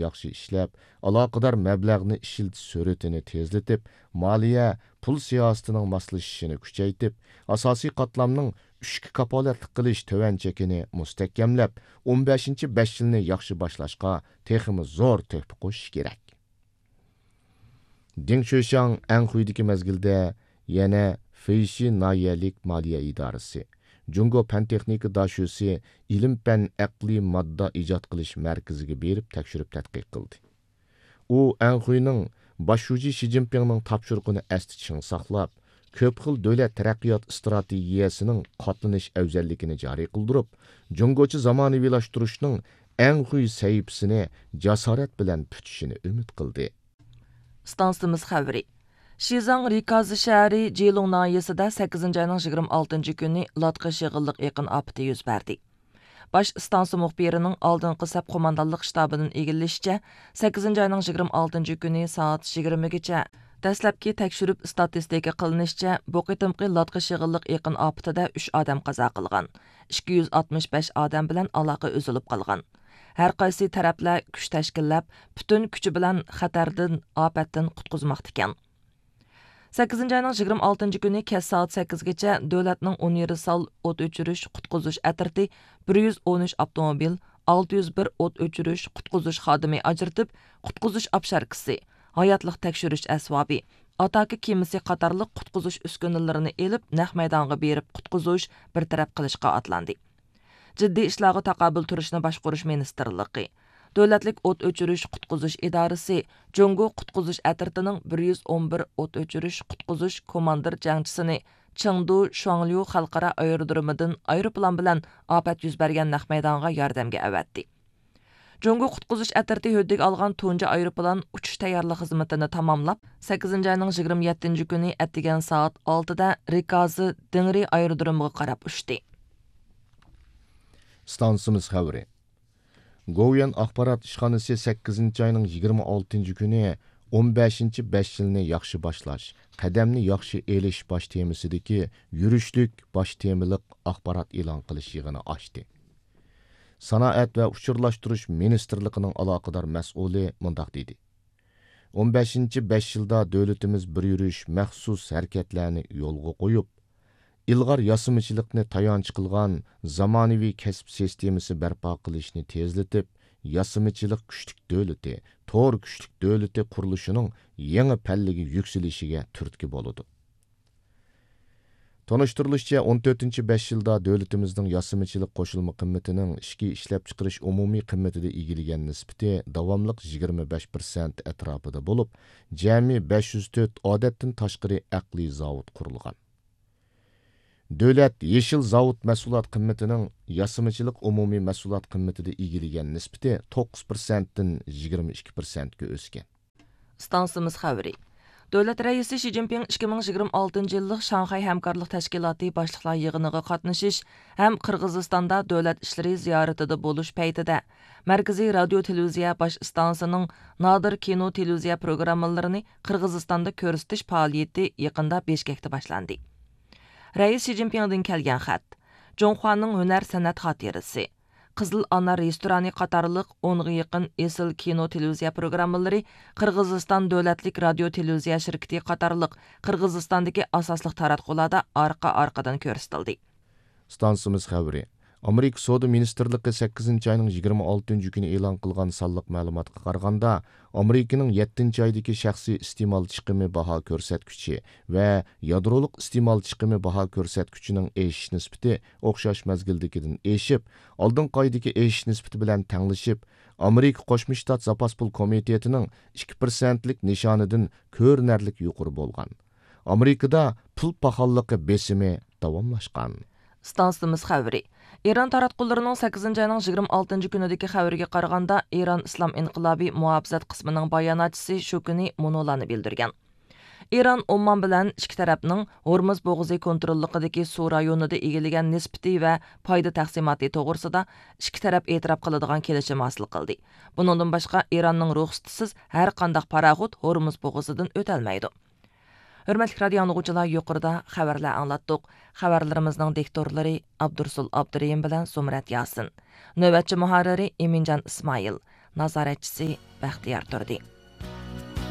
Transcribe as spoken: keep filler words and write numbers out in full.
ياخشى ئىشلەپ، ئالاقىدار مەبلەغنى ئىشلىتىش سۈرئىتىنى تېزلىتىپ، مالىيە، پۇل سىياسىتىنىڭ ماسلىشىشىنى كۈچەيتىپ، ئاساسىي قاتلامنىڭ ئۈچكە كاپالەتلىك قىلىش تۆۋەن چېكىنى مۇستەھكەملەپ، ئون بەشىنچى بەش يىلنى ياخشى باشلاشقا تېخىمۇ زور تۆھپە قوشۇش كېرەك. دېڭ شۆشياڭ ئەنخۇيدىكى مەزگىلدە يەنە فېيشى ناھىيەلىك مالىيە ئىدارىسى، جۇڭگو پەن تېخنىكا داشۆسى ئىلىم پەن ئەقلىي ماددا ئىجاد قىلىش مەركىزىگە بېرىپ تەكشۈرۈپ تەتقىق قىلدى. ئۇ ئەنخۇينىڭ باش شۇجى شى جىنپىڭنىڭ تاپشۇرۇقىنى ئەستە چىڭ ساقلاپ، كۆپ خىل دۆلەت تەرەققىيات ئىستراتېگىيەسىنىڭ قاتلىنىش ئەۋزەللىكىنى جارى قىلدۇرۇپ، جۇڭگوچە زامانىۋىلاشتۇرۇشنىڭ ئەنخۇي سەھىپىسىنى جاسارەت بىلەن پۈتۈشىنى ئۈمىد قىلدى. ئىستانسىمىز خەۋىرى. شىزاڭ رىكازى شەھىرى جىلۇڭ ناھىيەسىدە سەككىزىنچى ئاينىڭ يىگىرمە ئالتىنچى كۈنى لاتقا شېغىللىق ئېقىن ئاپىتى يۈز بەردى. باش ئىستانسا مۇخبىرىنىڭ ئالدىنقى سەپ قوماندانلىق شتابىدىن ئىگىلىشىچە، سەككىزىنچى ئاينىڭ يىگىرمە ئالتىنچى كۈنى سائەت يىگىرمىگىچە، دەسلەپكى تەكشۈرۈپ ئىستاتىستىكا قىلىنىشىچە، بۇ قېتىمقى لاتقا شېغىللىق ئېقىن ئاپىتىدە ئۈچ ئادەم قازا قىلغان، ئىككى يۈز ئاتمىش بەش ئادەم بىلەن ئالاقە ئۈزۈلۈپ قالغان. ھەر قايسى تەرەپلەر كۈچ تەشكىللەپ، پۈتۈن كۈچى بىلەن خەتەردىن، ئاپەتتىن قۇتقۇزماقتىكەن. سەككىزىنچى ئاينىڭ يىگىرمە ئالتىنچى كۈنى كەچ سائەت سەككىزگىچە دۆلەتنىڭ ئون يېرى سال ئوت ئۆچۈرۈش، قۇتقۇزۇش ئەترىتى بىر يۈز ئون ئۈچ ئاپتوموبىل، ئالتە يۈز بىر ئوت ئۆچۈرۈش، قۇتقۇزۇش خادىمى ئاجرىتىپ، قۇتقۇزۇش ئاپشاركىسى، ھاياتلىق تەكشۈرۈش ئەسۋابى، ئاتاكا كېمىسى قاتارلىق قۇتقۇزۇش ئۈسكۈنىلىرىنى ئېلىپ، نەق مەيدانغا بېرىپ قۇتقۇزۇش، بىر تەرەپ قىلىشقا ئاتلاندى. جىددىي ئىشلارغا تاقابىل تۇرۇشنى باشقۇرۇش مىنىستىرلىقى، دۆلەتلىك ئوت ئۆچۈرۈش قۇتقۇزۇش ئىدارىسى، جۇڭگو قۇتقۇزۇش ئەترىتىنىڭ بىر يۈز ئون بىر ئوت ئۆچۈرۈش قۇتقۇزۇش كوماندىر جەڭچىسىنى چېڭدۇ شۇاڭليۇ خەلقئارا ئايرودرومىدىن ئايروپىلان بىلەن ئاپەت يۈز بەرگەن نەق مەيدانغا ياردەمگە ئەۋەتتى. جۇڭگو قۇتقۇزۇش ئەترىتى ھۆددىگە ئالغان تۇنجى ئايروپىلان ئۇچۇش تەييارلىق خىزمىتىنى تاماملاپ، سەككىزىنچى ئاينىڭ يىگىرمە يەتتىنچى كۈنى ئەتىگەن سائەت ئالتىدە رىكازى دېڭرى ئايرودرومىغا قاراپ ئۇچتى. ئىستانسىمىز خەۋىرى. گوۋۇيۈەن ئاخبارات ئىشخانىسى سەككىزىنچى ئاينىڭ يىگىرمە ئالتىنچى كۈنى ئون بەشىنچى بەش يىلنى ياخشى باشلاش، قەدەمنى ياخشى ئېلىش باش تېمىسىدىكى يۈرۈشلۈك باش تېمىلىق ئاخبارات ئېلان قىلىش يىغىنى ئاچتى. سانائەت ۋە ئۇچۇرلاشتۇرۇش مىنىستىرلىقىنىڭ ئالاقىدار مەسئۇلى مۇنداق دېدى: ئون بەشىنچى بەش يىلدا دۆلىتىمىز بىر يۈرۈش مەخسۇس ھەرىكەتلەرنى يولغا قويۇپ، ئىلغار ياسىمىچىلىقنى تايانچ قىلغان زامانىۋى كەسىپ سىستېمىسى بەرپا قىلىشنى تېزلىتىپ، ياسىمىچىلىق كۈچلۈك دۆلىتى، تور كۈچلۈك دۆلىتى قۇرۇلۇشىنىڭ يېڭى پەللىگە يۈكسىلىشىگە تۈرتكە بولىدۇ. تونۇشتۇرۇلۇشىچە، ئون تۆتىنچى بەش يىلدا دۆلىتىمىزنىڭ ياسىمىچىلىق قوشۇلما قىممىتىنىڭ ئىچكى ئىشلەپچىقىرىش ئومۇمىي قىممىتىدە ئىگىلىگەن نىسبىتى داۋاملىق يىگىرمە بەش پىرسەنت ئەتراپىدا بولۇپ، جەمئىي بەش يۈز تۆت ئادەتتىن تاشقىرى ئەقلىي زاۋۇت قۇرۇلغان. دۆلەت يېشىل زاۋۇت مەھسۇلات قىممىتىنىڭ ياسىمىچىلىق ئومۇمىي مەھسۇلات قىممىتىدە ئىگىلىگەن نىسبىتى توققۇز پىرسەنتتىن يىگىرمە ئىككى پىرسەنتكە ئۆسكەن. ئىستانسىمىز خەۋىرى. دۆلەت رەئىسى شى جىنپىڭ ئىككى مىڭ يىگىرمە ئالتىنچى يىللىق شاڭخەي ھەمكارلىق تەشكىلاتى باشلىقلار يىغىنىغا قاتنىشىش ھەم قىرغىزىستاندا دۆلەت ئىشلىرى زىيارىتىدە بولۇش پەيتىدە، مەركىزىي رادىيو تېلېۋىزىيە باش ئىستانسىسىنىڭ نادىر كىنو تېلېۋىزىيە پروگراممىلىرىنى قىرغىزىستاندا كۆرسىتىش پائالىيىتى يېقىندا بىشكەكتە باشلاندى. رەئىس شى جىنپىڭدىن كەلگەن خەت. جۇڭخۇانىڭ ھۈنەر سەنئەت خاتىرىسى، قىزىل ئانا رېستورانى قاتارلىق ئونغا يېقىن ئېسىل كىنو تېلېۋىزىيە پروگراممىلىرى قىرغىزىستان دۆلەتلىك رادىيو تېلېۋىزىيە شىركىتى قاتارلىق قىرغىزىستاندىكى ئاساسلىق تاراتقۇلاردا ئارقا-ئارقىدىن كۆرسىتىلدى. ئىستانسىمىز خەۋىرى. ئامېرىكا سودا مىنىستىرلىقى سەككىزىنچى ئاينىڭ يىگىرمە ئالتىنچى كۈنى ئېلان قىلغان سانلىق مەلۇماتقا قارىغاندا، ئامېرىكىنىڭ يەتتىنچى ئايدىكى شەخسىي ئىستېمال چىقىمى باھا كۆرسەتكۈچى ۋە يادرولۇق ئىستېمال چىقىمى باھا كۆرسەتكۈچىنىڭ ئېشىش نىسبىتى ئوخشاش مەزگىلدىكىدىن ئېشىپ، ئالدىنقى ئايدىكى ئېشىش نىسبىتى بىلەن تەڭلىشىپ، ئامېرىكا قوشما شتات زاپاس پۇل كومىتېتىنىڭ ئىككى پىرسەنتلىك نىشانىدىن كۆرۈنەرلىك يۇقىرى بولغان. ئامېرىكىدا پۇل پاخاللىقى بېسىمى داۋاملاشقان. ئىستانسىمىز خەۋىرى. ئىران تاراتقۇلىرىنىڭ سەككىزىنچى ئاينىڭ يىگىرمە ئالتىنچى كۈنىدىكى خەۋىرىگە قارىغاندا، ئىران ئىسلام ئىنقىلابى مۇھاپىزەت قىسمىنىڭ باياناتچىسى شۇ كۈنى مۇنۇلارنى بىلدۈرگەن. ئىران ئومان بىلەن ئىككى تەرەپنىڭ ھورمۇز بوغۇزى كونتروللۇقىدىكى سۇ رايونىدا ئىگىلىگەن نىسبىتى ۋە پايدا تەقسىماتى توغرىسىدا ئىككى تەرەپ ئېتىراپ قىلىدىغان كېلىشىم ھاسىل قىلدى. بۇنىڭدىن باشقا، ئىراننىڭ رۇخسىتىسىز ھەر قانداق پاراخوت ھورمۇز بوغۇزىدىن ئۆتەلمەيدۇ. ھۆرمەتلىك رادىيو ئاڭلىغۇچىلار، يۇقىرىدا خەۋەرلەر ئاڭلاتتۇق. خەۋەرلىرىمىزنىڭ دىكتورلىرى ئابدۇرۇسۇل ئابدۇرېھىم بىلەن زۇمرەت ياسىن. نۆۋەتچى مۇھەررىرى ئىمىنجان ئىسمائىل. نازارەتچىسى بەختىيار تۇردى.